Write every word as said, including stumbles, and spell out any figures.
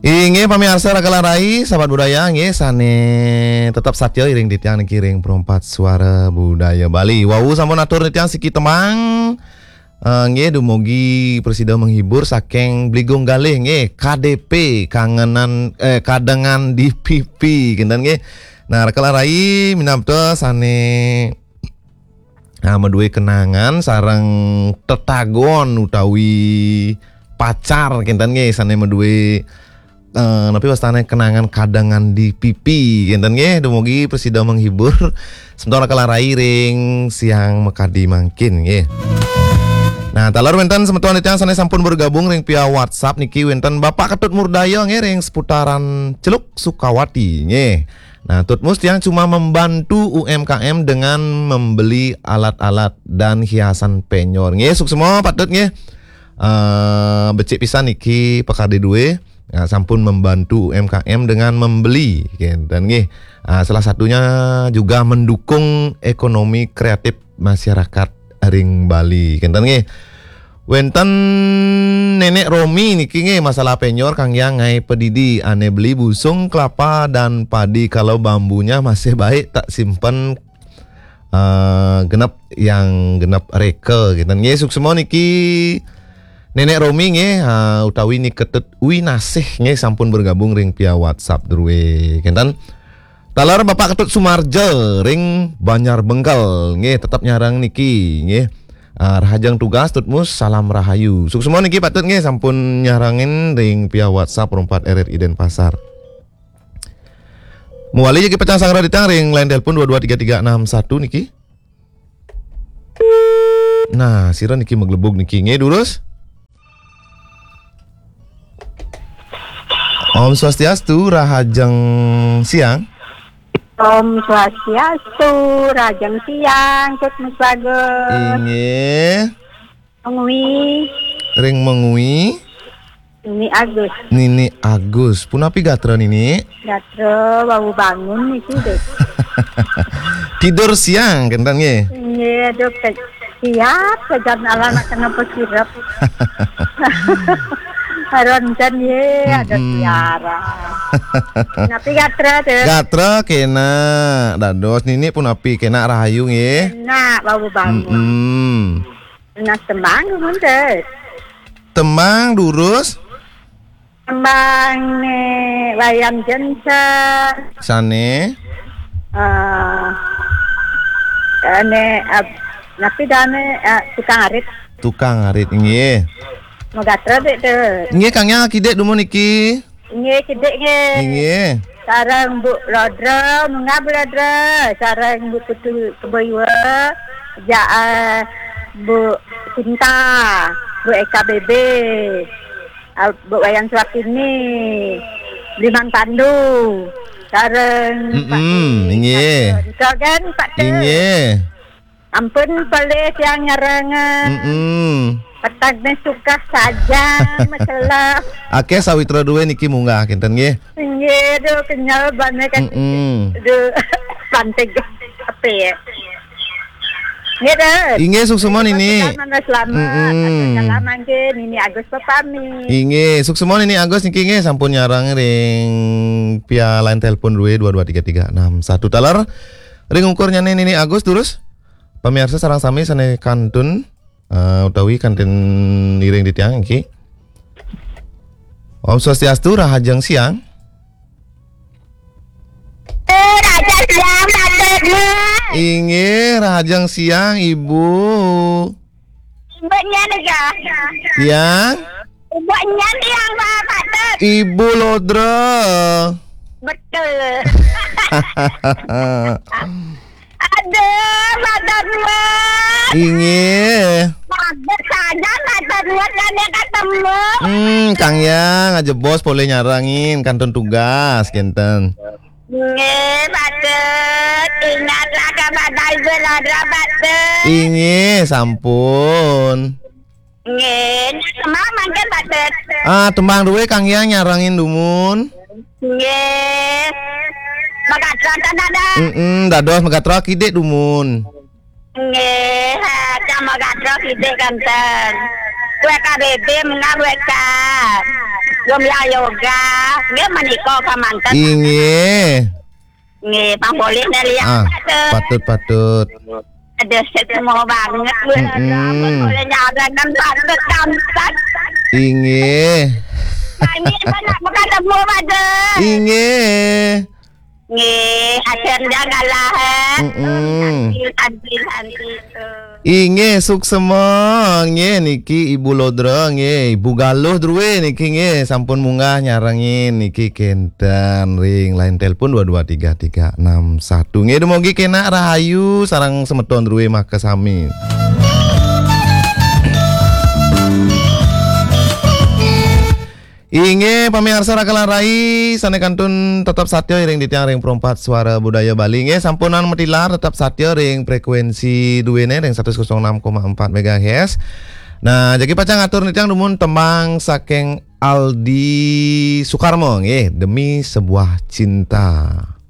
Inggih pamiarsa Raka lan Rai, sahabat budaya, nggih, sané tetep satya iring titiang niki ring Perempat Suara Budaya Bali. Wau sampun atur titiang siki tembang, eh, nggih, dumugi prasida menghibur saking Bligung Galih, nggih, K D P, kangenan, eh, kadengan di pipi, kinten nggih. Nah, Raka lan Rai, minabda sané, ah, madué kenangan sareng tetagon utawi pacar, kinten nggih, sané madué, eh, napi wastané kenangan kadengan di pipi, kinten nggih, dumugi prasida menghibur semeton Raka lan Rai ring siang makadi mangkin nggih. Nah, taler wénten semeton titiang sané sampun bergabung ring via WhatsApp niki, wénten Bapak Ketut Murdaya nggih ring seputaran Celuk Sukawati nggih. Nah, Tutmus, tiang cuma membantu U M K M dengan membeli alat-alat dan hiasan penyor. Nggih, suksma Pak Tut nggih. Eh, becik pisan niki pakardi dué. Ya, sampun membantu U M K M dengan membeli, kinten nggih. Ah, salah satunya juga mendukung ekonomi kreatif masyarakat ring Bali, kinten nggih. Wénten Nenek Romi niki nggih, masalah penyor, Kang Yang, ngaé padidi, ané beli busung kelapa dan padi, kalau bambunya masih baik tak simpen, eh, genep yang genep reka, kinten nggih. Suksma niki Nenek Romi nggih, eh, utawi Ni Ketut Winasih nggih, sampun bergabung ring via WhatsApp drué, kinten. Taler Bapak Ketut Sumarja ring Banjar Bengkel nggih, tetep nyarengin niki nggih. Ah, rahajeng tugas Tutmus, salam rahayu. Suksma niki Pak Tut nggih, sampun nyarengin ring via WhatsApp Perempat R R I Denpasar. Mawali jagi pacang sanggra titiang ring line telepon dua dua tiga tiga enam satu niki. Nah, sira niki maglebug niki nggih, durus. Om Swastiastu, rahajeng siang. Om Swastiastu, rahajeng siang, Tutmus Bagus. Inggih. Mengwi. Ring Mengwi. Nini Agus. Nini Agus. Punapi gatra Nini? Gatra wau bangun niki, Dek. Tidur siang, kinten nggih. Nggih, aduh, ke-, siap sajan ala nak kena pesirep. Ronten ye, ada Mm-mm. Siara. Napi gatra, Dek? Gatra kena. Dados Nini punapi, kena rahayu nggih. Kena wau bangun. Mm-mm. Nah, tembang dumun, Dek. Tembang durus. Tembang né Wayan Jensen. Sané? Eh, eh, né, eh, napi dané, eh, Tukang Arit. Tukang Arit, inggih. Magatra, Dek, Dek. Inggih, Kang Yang, kidik dumun niki. Inggih, kidik nggih. Inggih. Sareng Bu Lodra, munggah Bu Lodra, sareng Bu Putu Keboiwa, ja, eh, Bu Sinta, Bu Eka B B, eh, Bu Wayan Suartini, Bliman Pandu, sareng Pak Mm-mm, Dwi. Inggih. Sareng Pak Dwi. Inggih. Ampun, pelih tiang nyarengan. Mm-mm. Petang né suka saja, masalah. Akéh sawitra dué niki munggah kinten nggih. Nggih, duh, kenyal banget kan. Mm-mm. Duh, pantai apa ya? Nggih, Dek. Inggih, suksma Nini. Selamat, selamat. Mm-mm. Salam nggih, Nini Agus pepamit. Inggih, suksma Nini Agus niki nggih sampun nyarengin ring via line telepon dué dua dua tiga tiga enam satu taler. Ring ungkurnyané Nini Agus durus. Pamiarsa sareng sami sané kantun, eh, utawi kantun iring titiang niki. Om Swastiastu, rahajeng siang. Eh, rahajeng siang, Pak Tut. Inggih, rahajeng siang, Ibu. Ibu nyan ya. Tiang? Ibu nyan yang Pak Tut. Ibu Lodra. Betul. Aduh, matur nuwun. Inggih. Bagus saja matur nuwun kan ya ketemu. Hmm, Kang Yang, ajebos polih nyarengin kantun tugas kinten. Nggih, Pak Tut. Ingatlah kepada Ibu Lodra, Pak Tut. Inggih, sampun. Nggih, tembang mangkin, Pak Tut. Ah, tembang dué Kang Yang nyarengin dumun. Nggih. Magatra ten ada. Mm-mm, dados magatra kidik dumun. Nggih, ha, cang magatra kidik kanten. Kué K B B mengah kué ka. Gembira yoga. Nggih menika kamanten. Inggih. Nggih, Bang Boleh nelian. Ah, patut, patut. Ada semua banget. Mm-mm. Boleh nyaran dan patut tampan. Inggih. Nggih, banyak bukan semua pada. Inggih. Nggih, akhirnya ngalah, eh. Mm-mm. Anti, anti, anti itu. Inggih, suksema. Nggih, niki Ibu Lodra, nggih, Ibu Galuh druwe niki, nggih, sampun munggah nyarengin niki kenten ring line telepon dua dua tiga tiga enam satu. Nggih, dumugi kenak rahayu sareng semeton druwe makasami. Inggih, pamiarsa Raka lan Rai, sane kantun tetep satya iring titiang ring Perempat Suara Budaya Bali. Inggih, sampunang matilar tetep satya ring frekuensi duene ring satus kosong enam koma empat megahertz. Nah, jagi pacang atur titiang dumun tembang saking Aldi Sukarmo, nggih, Demi Sebuah Cinta.